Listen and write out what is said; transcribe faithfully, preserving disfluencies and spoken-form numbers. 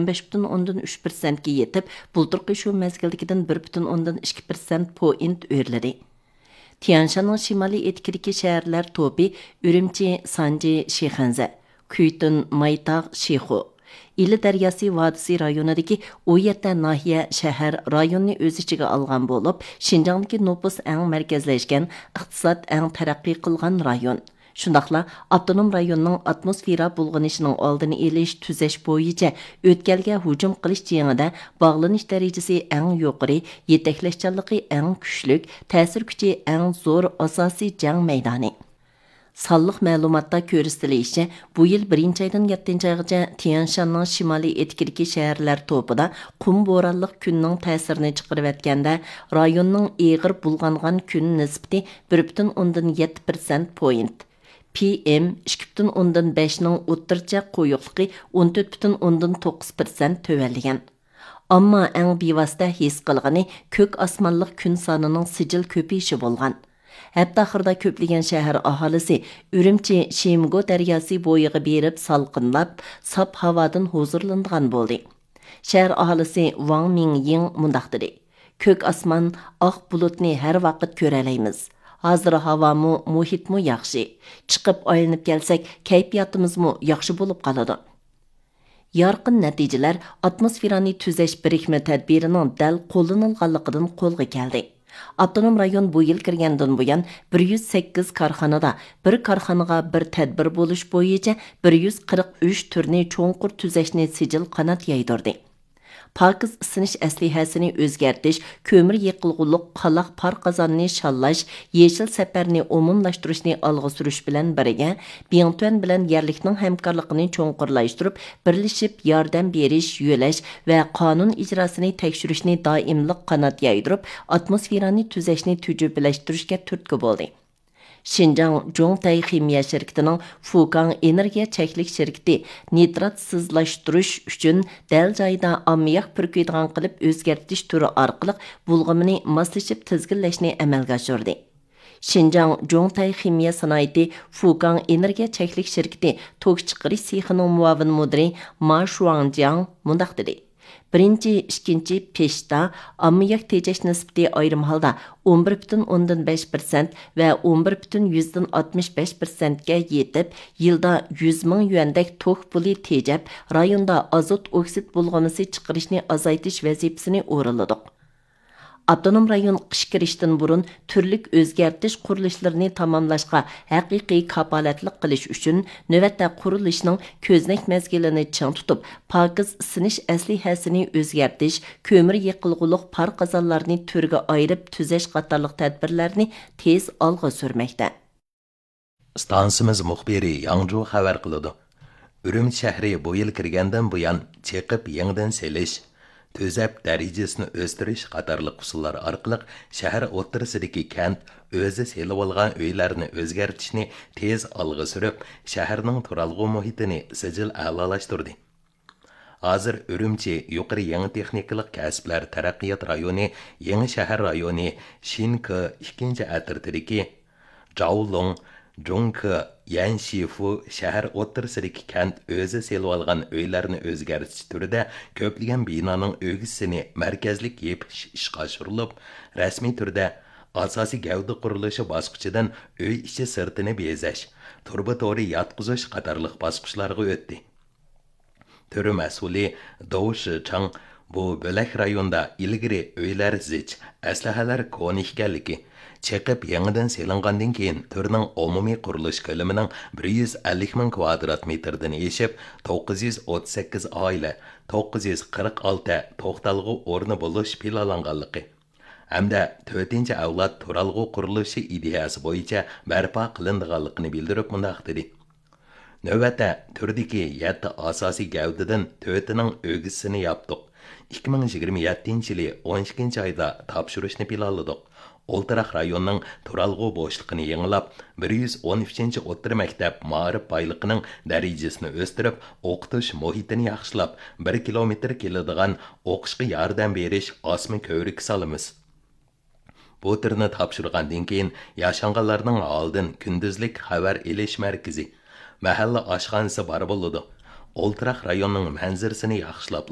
بەش پۈتۈن ئوندىن ئۈچ پىرسەنتكە يېتىپ، بۇلتۇرقى شۇ مەزگىلدىكىدىن بىر پۈتۈن ئوندىن ئىككى پىرسەنت پوينت ئۆرلىدى. تيەنشاننىڭ شىمالىي ئېتىكىدىكى شەھەرلەر توپى ئۈرۈمچى، سانجى، شىخەنزە، كۈيتۈن، مايتاغ، شىخۇ، ئىلى دەرياسى ۋادىسى رايونىدىكى ئون يەتتە ناھىيە، شەھەر، رايوننى ئۆز ئىچىگە ئالغان بولۇپ، شىنجاڭدىكى نوپۇس ئەڭ مەركەزلەشكەن، ئىقتىساد ئەڭ تەرەققىي قىلغان رايون. شۇنداقلا ئاپتونوم رايوننىڭ ئاتموسفېرا بۇلغىنىشىنىڭ ئالدىنى ئېلىش، تۈزەش بويىچە ئۆتكەلگە ھۇجۇم قىلىش جېڭىدە باغلىنىش دەرىجىسى ئەڭ يۇقىرى، يېتەكلەشچانلىقى ئەڭ كۈچلۈك، تەسىر كۈچى ئەڭ زور ئاساسىي جەڭ مەيدانى. سانلىق مەلۇماتتا كۆرسىتىلىشىچە، بۇ يىل بىرىنچى ئايدىن يەتتىنچى ئايغىچە تيەنشاننىڭ شىمالىي ئېتىكىدىكى شەھەرلەر توپىدا قۇم بورانلىق كۈننىڭ تەسىرىنى چىقىرىۋەتكەندە، رايوننىڭ ئېغىر بۇلغانغان كۈن نىسبىتى بىر پۈتۈن ئوندىن يەتتە پىرسەنت پوينت، پى ئېم ئىككى پۈتۈن ئوندىن بەشنىڭ ئوتتۇرىچە قويۇقلۇقى ئون تۆت پۈتۈن ئوندىن توققۇز پىرسەنت تۆۋەنلىگەن. ئەمما ئەڭ بىۋاسىتە ھېس قىلغىنى كۆك ئاسمانلىق كۈن سانىنىڭ سىجىل كۆپىيىشى بولغان. ھەپتە ئاخىرىدا كۆپلىگەن شەھەر ئاھالىسى ئۈرۈمچى شىمگو دەرياسى بويىغا بېرىپ سالقىنلاپ، ساپ ھاۋادىن ھۇزۇرلىنىدىغان بولدى. شەھەر ئاھالىسى ۋاڭ مىڭيىڭ مۇنداق دېدى: «كۆك ئاسمان، ئاق بۇلۇتنى ھەر ۋاقىت كۆرەلەيمىز. ھازىر ھاۋامۇ، مۇھىتمۇ ياخشى. چىقىپ ئايلىنىپ كەلسەك، كەيپىياتىمىزمۇ ياخشى بولۇپ قالىدۇ.» يارقىن نەتىجىلەر ئاتموسفېرانى تۈزەش بىرىكمە تەدبىرىنىڭ دەل قوللىنىلغانلىقىدىن قولغا كەلدى. ئاپتونوم رايون بۇ يىل كىرگەندىن بۇيان، بىر يۈز سەككىز كارخانىدا، بىر كارخانىغا بىر تەدبىر بولۇش بويىچە بىر يۈز قىرىق ئۈچ تۈرنى چوڭقۇر تۈزەشنى سىجىل قانات يايدۇردى. پاكىز ئىسسىنىش ئەسلىھەسىنى ئۆزگەرتىش، كۆمۈر يېقىلغۇلۇق قالاق پار قازاننى شاللاش، يېشىل سەپەرنى ئومۇملاشتۇرۇشنى ئالغا سۈرۈش بىلەن بىرگە، بىڭتۈەن بىلەن يەرلىكنىڭ ھەمكارلىقىنى چوڭقۇرلاشتۇرۇپ، بىرلىشىپ ياردەم بېرىش، يۆلەش ۋە قانۇن ئىجراسىنى تەكشۈرۈشنى دائىملىق قانات يايدۇرۇپ، ئاتموسفېرانى تۈزەشنى تۈجۈپىلەشتۈرۈشكە تۈرتكە بولدى. شىنجاڭ جوڭتەي خىمىيە شىركىتىنىڭ فۇكاڭ ئېنېرگىيە چەكلىك شىركىتى نىتراتسىزلاشتۇرۇش ئۈچۈن دەل جايىدا ئاممىياك پۈركۈيدىغان قىلىپ ئۆزگەرتىش تۈرى ئارقىلىق بۇلغىمىنى ماسلىشىپ تىزگىنلەشنى ئەمەلگە ئاشۇردى. شىنجاڭ جوڭتەي خىمىيە سانائىتى فۇكاڭ ئېنېرگىيە چەكلىك شىركىتى توك چىقىرىش سېخىنىڭ مۇئاۋىن مۇدىرى ما شۇاڭجياڭ مۇنداق دېدى: «بىرىنچى، ئىككىنچى پېشتا ئاممىياك تېجەش نىسبىتى ئايرىم ھالدا ئون بىر پۈتۈن ئوندىن بەش پىرسەنت ۋە ئون بىر پۈتۈن يۈزدىن ئاتمىش بەش پىرسەنتكە يېتىپ، يىلدا يۈز مىڭ يۈەندەك توك پۇلى تېجەپ، رايوندا ئازوت ئوكسىد بۇلغىمىسى چىقىرىشنى ئازايتىش ۋەزىپىسىنى ئورۇنلىدۇق.» ئاپتونوم رايون قىش كىرىشتىن بۇرۇن تۈرلۈك ئۆزگەرتىش قۇرۇلۇشلىرىنى تاماملاشقا ھەقىقىي كاپالەتلىك قىلىش ئۈچۈن، نۆۋەتتە قۇرۇلۇشنىڭ كۆزنەك مەزگىلىنى چىڭ تۇتۇپ، پاكىز ئىسسىنىش ئەسلىھەسىنى ئۆزگەرتىش، كۆمۈر يېقىلغۇلۇق پار قازانلارنى تۈرگە ئايرىپ تۈزەش قاتارلىق تەدبىرلەرنى تېز ئالغا سۈرمەكتە. ئىستانسىمىز مۇخبىرى ياڭجۇ خەۋەر قىلىدۇ. ئۈرۈمچى شەھىرى بۇ يىل كىرگەندىن بۇيان، چېقىپ يېڭىدىن سېلىش، تۈزەپ دەرىجىسىنى ئۆستۈرۈش قاتارلىق ئۇسۇللار ئارقىلىق شەھەر ئوتتۇرىسىدىكى كەنت ئۆزى سېلىۋالغان ئۆيلەرنى ئۆزگەرتىشنى تېز ئالغا سۈرۈپ، شەھەرنىڭ تۇرالغۇ مۇھىتىنى سىجىل ئەلالاشتۇردى. ھازىر ئۈرۈمچى يۇقىرى يېڭى تېخنىكىلىق كەسىپلەر تەرەققىيات رايونى يېڭى شەھەر رايونى شىنكې ئىككىنچى ئەترىتىدىكى جاۋلۇڭ، جۇڭكې، يەنشىفۇ شەھەر ئوتتۇرىسىدىكى كەنت ئۆزى سېلىۋالغان ئۆيلەرنى ئۆزگەرتىش تۈرىدە كۆپلىگەن بىنانىڭ ئۆگزىسىنى مەركەزلىك يېپىش ئىشقا ئاشۇرۇلۇپ، رەسمىي تۈردە ئاساسىي گەۋدە قۇرۇلۇشى باسقۇچىدىن ئۆي ئىچى سىرتىنى بېزەش، تۇرۇبا تورى ياتقۇزۇش قاتارلىق باسقۇچلارغا ئۆتتى. تۈر مەسئۇلى داۋ شىچاڭ بۇ بۆلەك رايوندا ئىلگىرى ئۆيلەر زىچ، ئەسلىھەلەر كونا ئىكەنلىكى، چېقىپ يېڭىدىن سېلىنغاندىن كېيىن، تۈرنىڭ ئومۇمىي قۇرۇلۇش كۆلىمىنىڭ بىر يۈز ئەللىك مىڭ كۋادرات مېتىردىن ئېشىپ، توققۇز يۈز ئوتتۇز سەككىز ئائىلە، توققۇز يۈز قىرىق ئالتە توختالغۇ ئورنى بولۇش پىلانلانغانلىقى، ھەمدە تۆتىنچى ئەۋلاد تۇرالغۇ قۇرۇلۇشى ئىدىيەسى بويىچە بەرپا قىلىنىدىغانلىقىنى بىلدۈرۈپ مۇنداق دېدى: نۆۋەتتە تۈردىكى يەتتە ئاساسىي گەۋدىدىن تۆتىنىڭ ئۆگزىسىنى ياپتۇق. ئىككى مىڭ يىگىرمە يەتتىنچى يىلى ئون ئىككىنچى ئايدا تاپشۇرۇشنى پىلانلىدۇق. ئولتۇراق رايوننىڭ تۇرالغۇ بوشلۇقىنى يېڭىلاپ، بىر يۈز ئون ئۈچىنچى ئوتتۇرا مەكتەپ مائارىپ بايلىقىنىڭ دەرىجىسىنى ئۆستۈرۈپ، ئوقۇتۇش مۇھىتىنى ياخشىلاپ، بىر كىلومېتىر كېلىدىغان ئوقۇشقا ياردەم بېرىش ئاسما كۆۋرۈكى سالىمىز. بۇ تۈرنى تاپشۇرغاندىن كېيىن، ياشانغانلارنىڭ ھالىدىن كۈندۈزلۈك خەۋەر ئېلىش مەركىزى، مەھەللە ئاشخانىسى بار بولىدۇ. ئولتۇراق رايوننىڭ مەنزىرىسىنى ياخشىلاپ